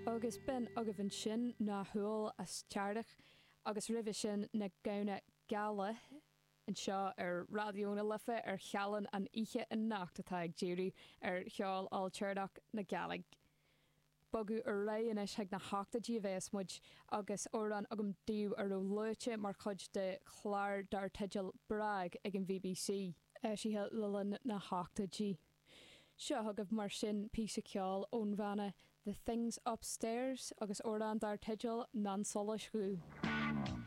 Agus b'in agaibh ansin Ná hÓl as Teahrich agus roimhe sin Na Gamhna Geala anseo ar Raidió na Life ar Shealann an oíche anocht atá ag díriú ar cheol ailtéarnach na Gàidhlig. Bogadh ar aghaidh anois chuig na hochtóidí a bheas muid agus amhrán agam daoibh a raibh luaite mar chuid de chlár dar teideal Brag ag an bhBC. Eisithe le linn na hochtóidí. Seo chugaibh mar sin píosa ceoil ón bhanna The Things Upstairs agus amhrán dar teideal Nan Solais Dhubh.